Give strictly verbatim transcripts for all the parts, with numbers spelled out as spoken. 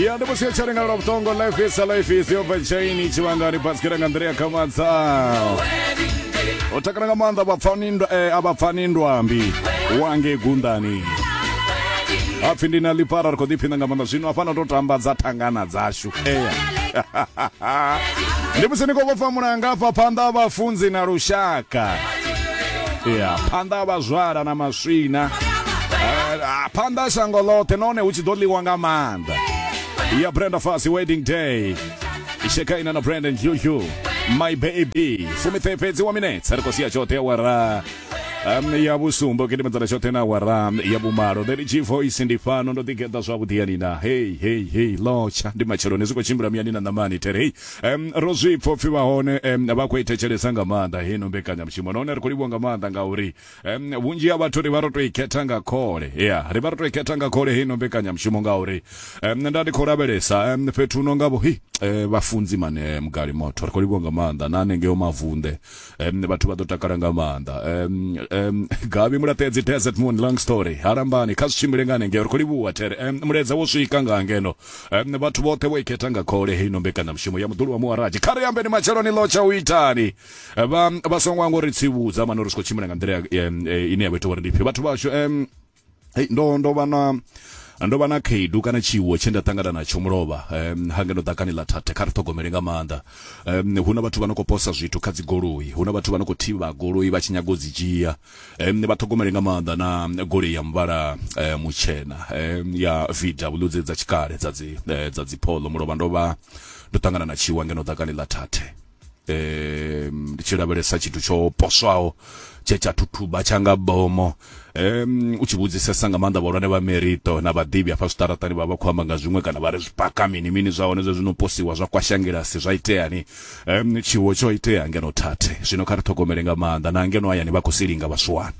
Ya ndi musi tsha ringa lwa vhutongo life is a life is over chain tshivhangani basikela nga nḓila ya khamadza. O takala nga maanḓa vhapfani ndwa eh, avhapfani ndwambi wange gundani. Hapfi ndi na ḽipara ri khou ḓiphina nga maanḓa zwino hafha no to tamba dza thangana dzashu. Ea. Ndi musi ni khou vhofha mulanga hafha phanḓa ha vhafunzi na lushaka. Ya, phanḓa ha vhazwala na maswina. Eh, phanḓa ha shango ḽoṱhe nahone hu tshi ḓo ḽiwa nga maanḓa. Ya Brenda Fassie wedding day. Ishekaina na Brandon Juju. My baby. Fumiṱhe fhedzi wa minutes ri khou sia tshoṱhe awara um, ya vhusumbe gidimedzana tshoṱhe na awara ya vhumalo. The G voice ndi fhano ndo ḓigeḓa zwavhuḓi yani na hey hey hey lotsha ndi matsheloni zwi khou tshimbila muyani na ṋamani there hey um, ro zwi pfha upfhi vha hone um, vha khou i thetshelesa nga maanḓa heino mbekanyamushumo nahone ri khou livhuwa nga maanḓa ngauri um, vhunzhi ha vhathu ri vha ro tou i khetha nga khole ya ri vha ro tou i khetha nga khole heino mbekanyamushumo ngauri um, nda ndi khou lavhelesa um, fhethu no nga vho hi eh, vhafunzi mane mugali motho ri khou livhuwa nga maanḓa na hanengeo mavunḓe um, vhathu vha ḓo takala nga maanḓa um, um, Gavi Mulaṱedzi Desert Moon long story halambani kha zwi tshimbile nga hanengeo ri khou livhuwa there um, mulaedza wo swika nga ngeno um, vhathu vhoṱhe vho i khetha nga khole heino mbekanyamushumo ya muḓulu wa muharaji kha ri ambeni matsheloni ḽo tsha u itani vha vha songo ngo ri tsivhudza mani uri zwi khou tshimbila nga nḓila um, ine ya vha ita uri ndi fhi vhathu vhashu um, hey, ndo ndo vha na ndo vha na khaedu kana tshiwo tshe nda ṱangana natsho mulovha um, hangeno ḓakani ḽa thathe kha ri ṱhogomele nga maanḓa um, hu na vhathu vha no khou posa zwithu kha dzi goloi hu na vhathu vha no khou thivha goloi vha tshi nyaga u dzi dzhia um, vha ṱhogomele nga maanḓa na goloi ya muvhala um, mutshena um, ya V W dze dza tshikale dza dzi eh, dza dzi polo mulovha ndo vha ndo ṱangana na tshiwo ngeno ḓakani ḽa thathe um ndi tshi lavhelesa tshithu tsho poswaho tshe tsha thuthuba tsha nga bomo um u tshi vhudzisesa nga maanḓa vhahulwane vha merito na vhaḓivhi hafha zwiṱaraṱani vha vha khou amba nga zwiṅwe kana vha ri zwipaka mini mini zwa hone zwe zwino posiwa zwa kwashangilasi zwa iteani um tshiwo tsho itea ngeno thathe zwino kha ri ṱhogomele nga maanḓa na ngeno hayani vha khou silinga vhaswana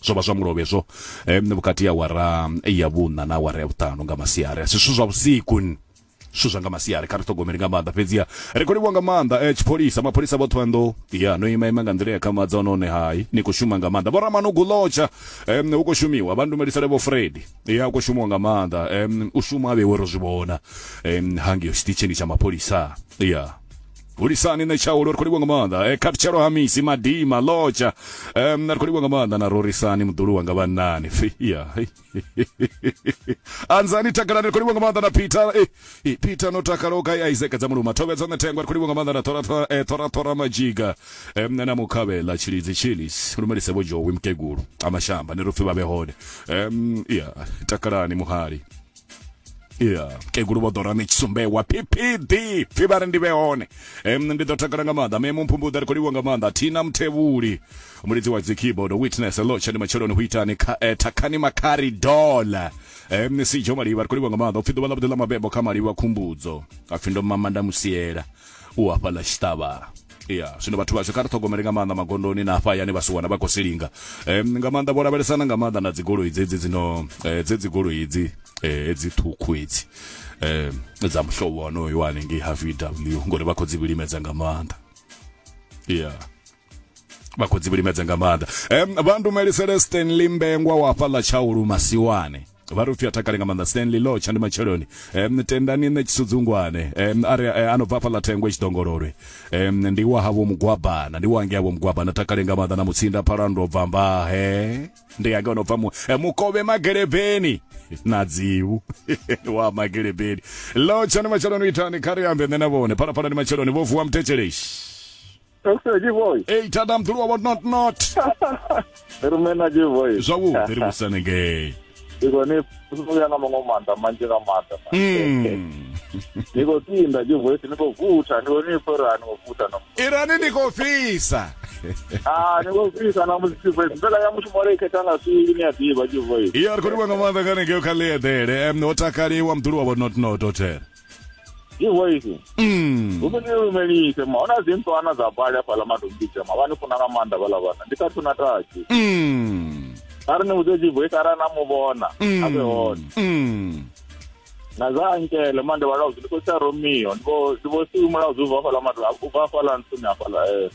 zwo vha zwa mulovhe zwo um vhukati ya awara ya vhuṋa na awara ya vhuṱanu nga masiari asi zwithu zwa vhusiku zwithu zwa nga masiari kha ri ṱhogomele nga maanḓa fhedziha ri khou livhuwa nga maanḓa eh, tshipholisa mapholisa vhoṱhe vha nḓou ya no ima ima nga nḓila ya khamadza nahone hai ni khou shuma nga maanḓa vho lotsha um, hu khou shumiwa vha ndumelisele vho Fred ya hu khou shumiwa nga maanḓa um, u shuma vhewe ro zwi vhona um, hangei tshiṱitshini tsha mapholisa ya hulisani nṋe tshaulo ri khou livhuwa nga maanḓa e, khathutshelo ha misi madima lotsha um, ri khou livhuwa nga maanḓa na rorisani muḓulu wanga vhannani ya anzani takalani ri khou livhuwa nga maanḓa na Peter eh, eh, Peter no takala o gai Isaac dza muluma thovhedza nṋe thengwa ri khou livhuwa nga maanḓa na tora tora eh, tora tora majiga um, na mukhavhela tshilidzi chilis lumelise vho Jowi mukegulu amashamba ni ri pfi vha vhe hone um, ya takalani muhali ya kegulu vho ḓo rani tshisumbewa P P D pfi vha ri ndi vhe hone um, ndi ḓo takala nga maanḓa memo mphumbuḓa ri khou livhuwa nga maanḓa Thina Mthevhuli mulidzi wa dzi keyboard witness lotsha ndi matsheloni hu itani kha eh, Thakhani Makhari Dola um, Sijo Maliva ri khou livhuwa nga maanḓa upfi ḓuvha ḽa vhuḓi ḽa mabebo kha Maliva Khumbudzo apfi ndo mama nda musiela u hafha ḽa tshiṱavha ya zwino vhathu vhashu kha ri ṱhogomele nga maanḓa magondoni na hafha hayani vhasiwana vha khou silinga um, nga maanḓa vho lavhelesana nga maanḓa na dzigoloi dzedzi dzino eh, dzedzi goloi idzi eh, edzi ṱhukhu edzi eh, dza muhlobo wonoyo wa hanengei ha V W ngori vha khou dzi vhilimedza nga maanḓa ya vha khou dzi vhilimedza nga maanḓa um, vha ndumelisele Stanley Mbengwa wa hafha ḽa Tshaulu Masiwane vha ri upfi a takale nga maanḓa Stanley Lotsha ndi matsheloni um, tendani nṋe Tshisudzungwane um, ari eh, ano bva hafha ḽa Thengwe Tshidongololwe um, ndi wa havho Mugwabana ndi wa ngei havho Mugwabana takale nga maanḓa na Mutsinda Phalando bva Mbahe ndi yange ono bva mu, eh, Mukovhe Magelebeni na dzivu wa Magelebeni Lotsha ndi matsheloni itani kha ri ambe nṋe na vhone phalaphala ndi matsheloni vho vuwa muthetshelesi G-Voice. Ei tata mdulu wa not not Rumena G-Voice. zwavhuḓi ri vhusane ngei Ndi khou ni vhuya nga maṅwe maanḓa manzhi nga maanḓa. Mm. Ndi khou tinda G-Voice, ndi khou vutha, ndi khou ni pfa uri ha ni khou vutha na Irani ndi khou fhisa Ah, ni khou fhisa na musi G-Voice. Mbekanyamushumo ri i khetha nga swili ni a ḓivha G-Voice. iya ri khou livhuwa nga maanḓa kha hanengei kha ḽiedele um, ho takaliwa muḓulu wa vho not not hotel G-Voice. mm. Hu ni lumelise ma huna dzi ntswana dza bali hafhaḽa Madombidzha ma vha ni funa nga maanḓa vhaḽa vhana. Ndi khathu na taxi. Mm. A ri ni vhudze G-Voice arali na mu vhona a vhe hone. Mm. Na za ankele mande vha laudzi ndi khou sia Romeo ndi vho ndi vho siu mulaudzi ubva hafhaḽa madu ubva hafhaḽa ntsuni hafhaḽa eh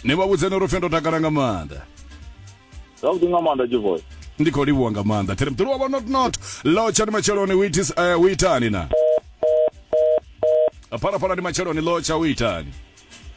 ni vha vhudze uri pfi ndo takala nga maanḓa zwavhuḓi nga maanḓa G-Voice. Ndi khou livhuwa nga maanḓa. There mduru wa not not. Lotsha ndi matsheloni uitis uh, uitani na. Phalaphala ndi matsheloni lotsha uitani.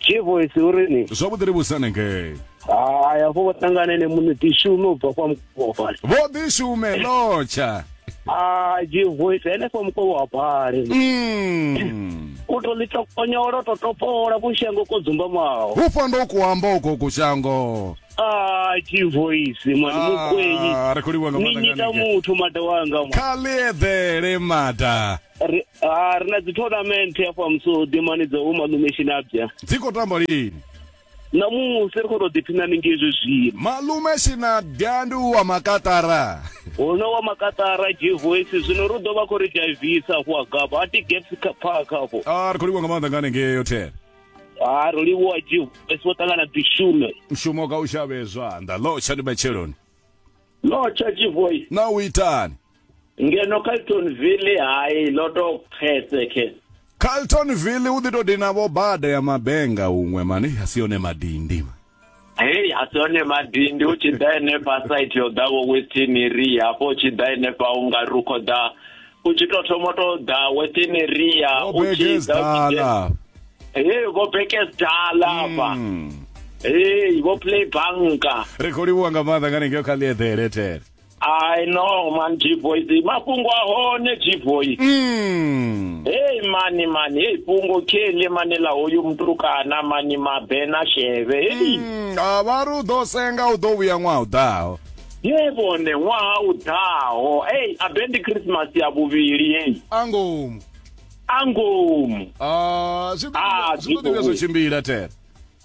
G-Voice urini? Zwavhuḓi ri vhusane ngei. Hai afho vho ṱangane ne muṋe ḓishume u bva kwa Mukovha. Vho ḓishume lotsha. Ah G-Voice henefho Mukovha wa Bale. Mm. U to ḽi tokonyola to topola kushango ko dzumbamaho. Hufha ndo ku amba uko kushango. Ah G-Voice mani mukwenyi. Ah ri khou livhuwa nga maanḓa. Ni nyita muthu mada wanga. Kha ḽi eḓele mada. Ri ah ri na dzi tournament hafha Musodi mani dza malume Shinabya. Dzi khou tamba lini? Namusi ri khou tou ḓiphina haningei zwezwino. Malume Shinabya ndi wa makatara. Huno wa makatara G-Voice zwino ri ḓo vha khou ri dzhaivisa afho Agaba a ti Gaps Park afho. Ah ri khou livhuwa nga maanḓa nga haningei hotel. Ah ro livhuwa G-Voice vho ṱangana ḓishume. Mushumo ka u shavhe zwanḓa. Lotsha ndi matsheloni. Lotsha G-Voice. Na u itani? Ngeno Carltonville hai loto phese ke. Carltonville u ḓi to dina vho bada ya mabenga huṅwe mani a si yone madindi. Hey a si yone madindi u tshi ḓa henefha site yo ḓa vho Western Area afho u tshi ḓa henefha u nga ri u khou ḓa u tshi to thoma to ḓa Western Area u tshi ḓa. Hey vho Bekesdala afha. Hey vho Play Banka. Ri khou livhuwa nga maanḓa nga haningei kha ḽi eḓele there. I know man G-Voice mafhungo a hone G-Voice. Mm. Hey mani mani hey fhungo kheli mani la hoyu mutukana mani mabena sheve. Hey mm. A vha ri u ḓo senga u ḓo vhuya ṅwaha u ḓaho. Ye vhone ṅwaha u ḓaho. Hey a bendi Christmas ya vhuvhili hey. Angomu. Angomu. Ah zwi ḓo ḓi zwo tshimbila there.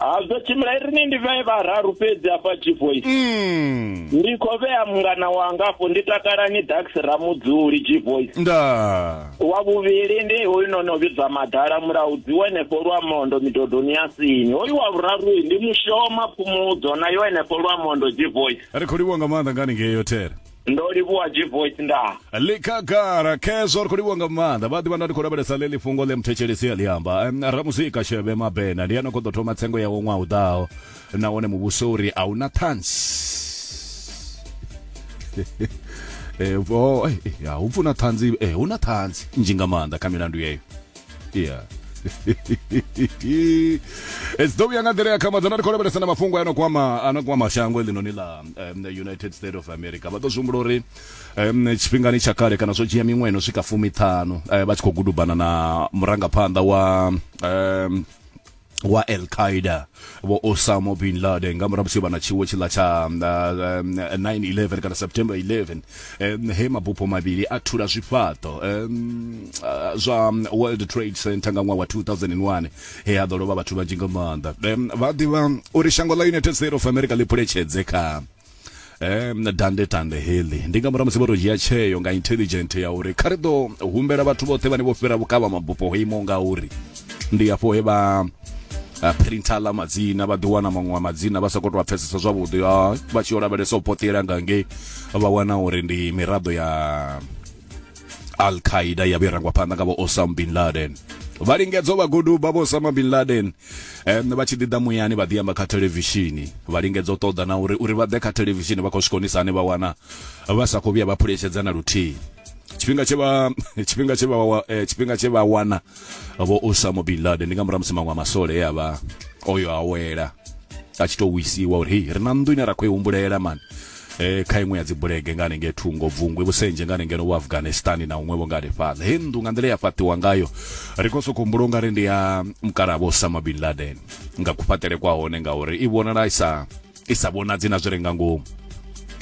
A zwo tshimbila ri ndi vhe vhararu fhedzi afha G-Voice. Mm. Ndi khou vhea mungana wanga afho ndi takalani Dax Ramudzuli G-Voice. Nda. Wa vhuvhili ndi hoyu no no vhidzwa Madala Mulaudzi wenefho Lwamondo midodoni ya Sini. Hoyu wa vhuraru ndi Mushoma Phumudzo na yo henefho Lwamondo G-Voice. Ri khou livhuwa nga maanḓa nga haningei hotel. Ndo livhuwa G-Voice nda. Likhagara khezwo ri khou livhuwa nga maanḓa. Vha ḓivha nda ndi khou lavhelesa ḽeḽi fhungo ḽe muthetshelesi a ḽi amba. Ramuzika Shebe Mabena ndi ano khou ḓo thoma tsengo yawe ṅwaha u ḓaho nahone muvhuso uri a una ṱhanzi. Eh oh ya hu pfuna ṱhanzi eh hu na ṱhanzi nnzhi nga maanḓa kha milandu yeyo. Yeah. It's ḓo vhuya nga nḓila ya khamadzana ri khou lavhelesa na mafhungo ano kwama ano kwama shango ḽinoni ḽa um, United States of America. Vha ḓo zwi humbula uri um, tshifhingani tsha kale kana zwo dzhia miṅwe ino swika fumiṱhanu eh, vha tshi khou gudubana na murangaphanḓa wa um, wa Al-Qaeda vho Osama bin Laden nga murahu musi vha na tshiwo tshiḽa tsha nine eleven kana September eleven um, he mabupho mavhili a thula zwifhaṱo um, zwa World Trade Center nga ṅwaha wa two thousand and one he ha ḓo lovha vhathu vhanzhi nga maanḓa. Um, vha ḓivha uri shango ḽa United States of America ḽi phuletshedze kha um, dande tande heḽi ndi nga murahu musi vho to dzhia tsheo nga intelligent ya uri kha ri ḓo humbela vhathu vhoṱhe vhane vho fhira vhukavha mabupho ho imaho nga uri ndi afho he vha Uh, printer la madzina vha ḓi wana maṅwe a madzina vha sa khou tou a pfesesa zwavhuḓi vha tshi yo lavhelesa u poṱela nga ngei vha wana uri ndi miraḓo ya Al-Qaeda ya vho rangwa phanḓa nga vho Osama bin Laden. Vha lingedza vha guduba vho Osama bin Laden um, vha tshi ḓi ḓa muyani vha ḓi amba kha thelevishini vha lingedza u ṱoḓa na uri uri vha ḓe kha thelevishini vha khou zwi konisa hani vha wana vha sa khou vhuya vha phuletshedza na luthihi. Tshifhinga tshe vha tshifhinga tshe vha tshifhinga tshe vha wana vho Osama bin Laden ndi nga murahu musi maṅwe a masole e a vha oyo awela a tshi to wisiwa uri hei ri na nnḓu ine ra khou i humbulela mani eh kha iṅwe ya dzi bulege nga hanengei thungo Bvungwi Vhusenje nga hanengei vho Afghanistan na huṅwe vho nga hanefhaḽa. Hei nnḓu nga nḓila ya fhaṱiwa ngayo ri khou sokou humbula ungari ndi ya mukalaha vho Osama bin Laden nga kufhaṱele kwa hone ngauri i vhonala i sa i sa vhonadzi na zwi re nga ngomu.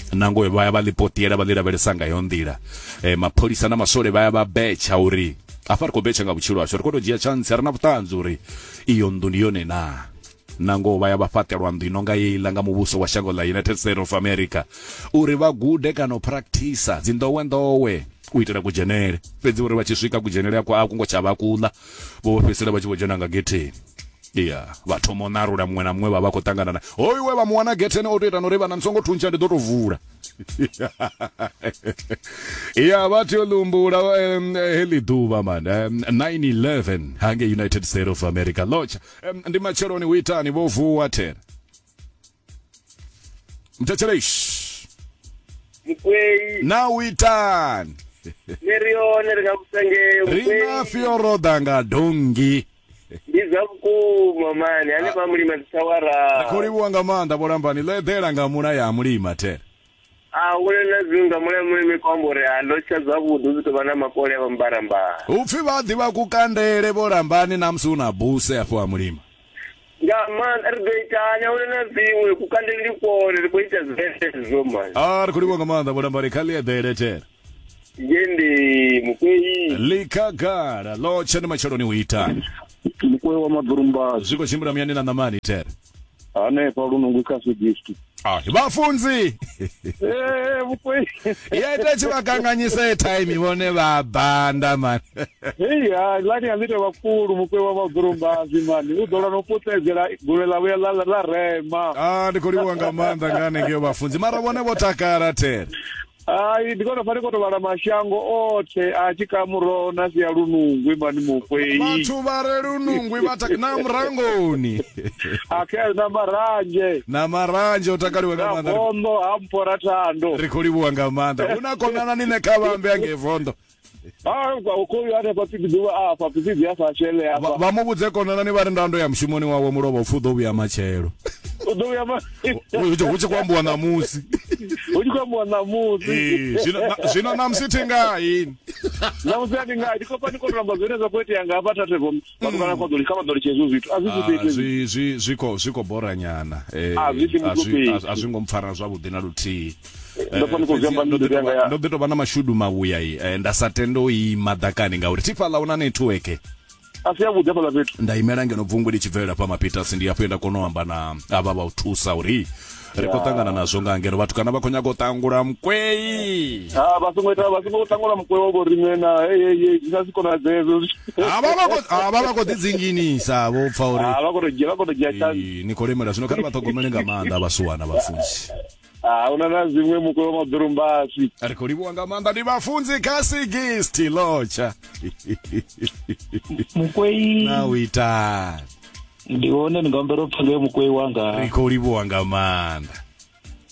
Nangoyo vha ya vha ḽi poṱiela vha ḽi lavhelesa nga yo nḓila e, mapholisa na maswole vha ya vha betsha uri afha ri khou betsha nga vhutshilo hashu ri khou tou dzhia chance ri na vhuṱanzi uri iyo nnḓu ndi yone na. Nangoho vha ya vha fhaṱelwa nnḓu ino nga heiḽa nga muvhuso wa shango ḽa United States of America uri vha gude kana u practice dzi nḓowenḓowe u itela kudzhenele fhedzi uri vha tshi swika kudzhenele akwo a kungo tsha vha kuḽa vho fhedzisela vha tshi vho dzhena nga getheni. Yeah, vha thoma u ṋarula muṅwe na muṅwe vha vha khou ṱangana na hoyu we vha mu wana getheni o to ita na uri vhana ni songo thuntsha ndi ḓo tou vula. Ya vha tea u ḽi heḽi ḓuvha man nine eleven hangei United States of America. Lotsha ndi matsheloni hu itani vho vuwa thera mthetshelesi. Mukwei. Na u itani? Ni ri hone ri nga vhusengeo Ri na fioroda nga dongi. Ndi zwa vhukuma mani hanefha Mulima dzithawara. Ri khou livhuwa nga maanḓa vho Lambani, ḽo eḓela nga mula ya Mulima the. A huna na zwiṅwe nga mula Mulima kwa amba uri a ḽo tsha zwavhuḓi hu ḓo vha na makole a mbarambara. Upfi vha ḓivha kukandele vho Lambani na musi una buse afho ha Mulima. Nga maanḓa ri ḓo itani, huna na zwiṅwe kukandele ndi kwone ri khou ita zwezwo mani. A ri khou livhuwa nga maanḓa vho Lambani, kha ḽi eḓele the. Ngendi Mukwei. Ḽikhagala ḽo tsha ndi matsheloni u itani? Mukwei wa Maḓurumbasi. Zwi khou tshimbila muyani na ṋamani the. Hanefha Lunungu kha Sigisti. Ah, vhafunzi. Eh, Mukwei. Ya ita tshi vha kanganyisa airtime vhone vha banda man. Hey, ha lani a ḽi vhakulu Mukwei wa Maḓurumbasi mani. U ḓo lwa no puṱedzela gule ḽa vhuya ḽa ḽa rema. Ah, ndi khou livhuwa nga maanḓa nga hanengei vhafunzi. Mara vhone vho takala the. Ai, ndi kona fani koto vhala mashango othe a tshikamuroho na sia Lunungwi mani Mukwei. Vhathu vha re Lunungwi vha tak na Murangoni. Akhe na Maranzhe. Na Maranzhe o takaliwa nga maanḓa. Na Vondo ha Mpora Thando. Ri khou livhuwa nga maanḓa. Hu na konana ni ne kha vhambe angei Vondo. Ah, u khou ya hanefha pfi ḓuvha afha pfi ya sa shele afha. Vha mu vhudze konana ni vha ri ndando ya mushumoni wawe mulovha upfi u ḓo vhuya matshelo. U ḓo vhuya ma hu tshi khou ambiwa ṋamusi. Hu tshi khou ambiwa ṋamusi. Ee, zwino zwino ṋamusi thi nga ini. Ṋamusi a ndi nga ndi khou pfa ndi khou amba zwine zwa khou itea nga hafha Thathevo vhathu kana kwa ḓo kha vha ḓo litsha hezwo zwithu. A zwi zwi zwi zwi zwi khou zwi khou bora nyana. Eh, a zwi a zwi ngo mpfara zwavhuḓi na luthihi. Ndo pfa ndi khou zwi amba Ndo ḓi tou vha na mashudu mavhuya nda sa tende u ima ḓakani ngauri thi fhaḽa hu na network. A si yavhuḓi hafhaḽa fhethu. Nda imela ngeno bvungwi ḽi tshi bvelela fha Mapitasi, ndi hafho nda kona u amba na avha vha u thusa uri ri khou ṱangana nazwo nga ngeno vhathu kana vha khou nyaga u ṱangula Mukwei. Ha vha songo ita vha songo ṱangula Mukwei wa vho riṋe na hey hey hey zwi sa si konadzee hezwo. Ha vha vha khou ha vha vha khou ḓi dzinginisa vho pfa uri ha vha khou tou dzhia vha khou tou dzhia chance. Ni khou lemela zwino, kha ri vha ṱhogomele nga maanḓa vhasuwana vhafunzi. Ah, huna na zwiṅwe Mukwei wa Maḓurumbasi. Ri khou livhuwa nga maanḓa ndi vhafunzi kha Sigisti lotsha. Mukwei. Na u itani? Ndi hone ndi nga humbela u pfa ngei Mukwei wanga. Ri khou livhuwa nga maanḓa.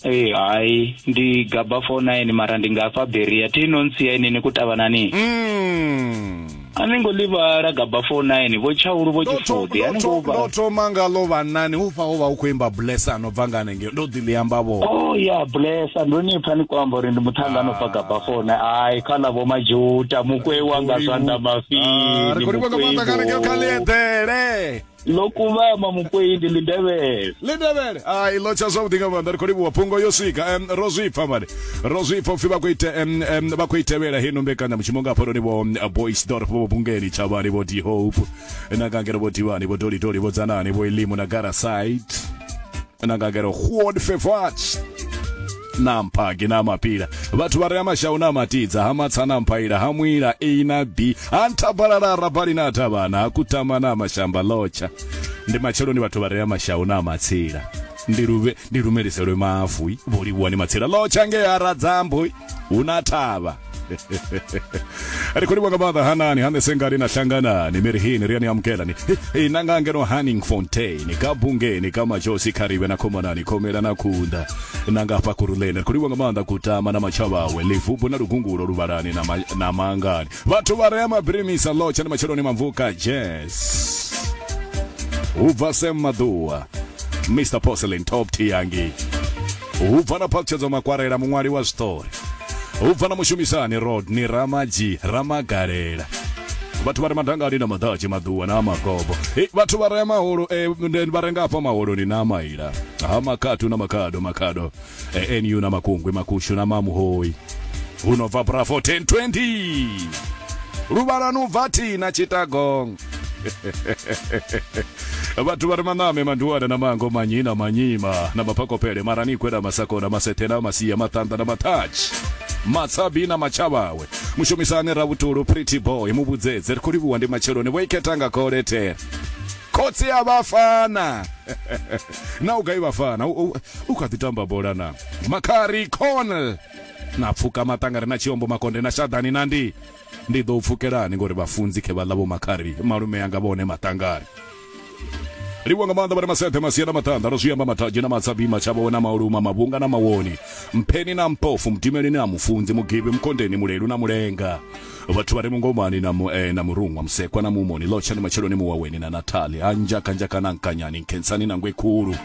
Ee, hai ndi gaba four nine mara ndi nga fha Beria thi no ntsia inini kutavhanani. Mm. A ni ngo ḽivhala gaba four nine vho Tshaulu vho Tshifudi a ni ngo vha. Ndo thoma nga ḽo vhanani hu fha ho vha hu khou imba Blessa no bva nga hanengei ndo ḓi ḽi amba vho. Oh ya Blessa ndo ni pfa ni khou amba uri ndi muṱhannga no bva gaba four nine. Ai kha ḽa vho Majuta Mukwei wanga zwanḓa mafhini. Ri khou livhuwa nga maanḓa nga hanengei kha ḽi eḓele. Ḽo kuvhama Mukwei ndi ḽindevhele. Ḽindevhele. Ai ḽo tsha zwavhuḓi nga maanḓa ri khou livhuwa phungo yo swika. Um, ro zwi pfa mani. Ro zwi pfa upfi vha khou ite um, um, vha khou itevhela heno mbekanyamushumo nga hafhanoni vho Boys Dorf vho Bungeni Tshavhani vho D Hope na ngangelo vho Divani vho Doli Doli vho Dzanani vho Elimu na Gara Side na ngangelo Juan Fevach na Mphagi na Mapila vhathu vha re Mashau na Matidza ha Matsa na Mphaila ha Mwila A na B ha Nthabalala Rabali na Thavhana ha Kutama na Mashamba lotsha ndi matsheloni vhathu vha re Mashau na Matsila ndi luvhe ndi lumeliselwe mavu vho livhuwa ni Matsila lotsha nge ha Radzambo hu na thavha. Ri khou livhuwa nga maanḓa hanani hane sengani na hlanganani mirihini ri ani amukelani na nga ngeno Hanning Fontaine ka Bungeni ka Majosi Kharibe na Khomanani Khomela na Khunda na nga hafha Kuruleni. Ri khou livhuwa nga maanḓa Kutama na Matshavhawe Livubu na Lugungulo Luvhalani na na Mangani vhathu vha re Mabirimisa lotsha na matsheloni Mamvuka Jazz ubva Sam Maḓuwa Mister Porcelain Top Tiangi ubva na Phatshedzo Makwarela muṅwali wa zwiṱori ubva na mushumisani Rodney Ramaji Ramagalela vhathu vha re Madangani na Maḓadzhe Maḓuwa na Magobo vhathu vha re maholo vha re nga hafha maholoni na Maila ha Makhatu na Makhado Makhado N U na Makungwi Makushu na Mamuhoi hu no bva Bravo ten twenty Luvhalani u bva Thina Chittagong vhathu vha re Maname Manduwana na Mango Manyina Manyima na Mapakopele Maranikwe na Masakona Masethe na Masia Matanda na Mathatshi Matsabi na Matshavhawe mushumisani Ravhutulu Pretty Boy muvhudzedze ri khou livhuwa ndi matsheloni vho ikhetha nga kholethere khotsi a vhafana na u gai vhafana u kha ḓi tamba bola na Makhari Connell na pfuka maṱangare na Tshiombo Makonde na Shadani na ndi ndi ḓo pfukelani ngori vhafunzi khe vha ḽa vho Makhari malume yanga vhone maṱangare. Livhuwa nga maanḓa vha re maseṱhe masia na maṱanḓa ro zwi amba mathadzhi na matsabi matshavho na mauluma mavhunga na mawoni mpheni na mpofu mudimeli na mufunzi mugivhi mukondeni mulelu na mulenga vhathu vha re mungomani na, mu, eh, na muruṅwa musekwa na mumoni lotshani matsheloni muwaweni na nathali hanzhakanzhaka na nkanyani nkhensani na ngwekhulu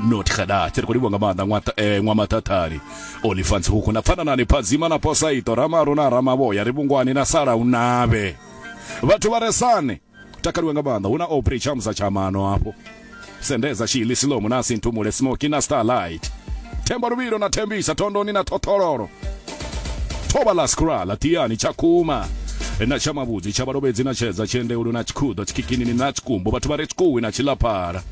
not khada ri khou livhuwa nga maanḓa ṅwata eh, ṅwamatathali olifants huku na pfananani phadzima na posaito ramaru na ramavhoya ri vhungwani na sala unavhe vhathu vha re sane takaliwe nga maanḓa hu na opry tshamusa tshamano afho sendeza shili silomo na sinthumule smoky na starlight themba luvhilo na thembisa thondoni na thothololo thoba la skrala tiani tshakhuma na tsha mavhudzi tsha vhalovhedzi na tshedza tshiendeulu na tshikhuḓo tshikikinini na tshikumbu vhathu vha re tshikuwi na tshilaphara.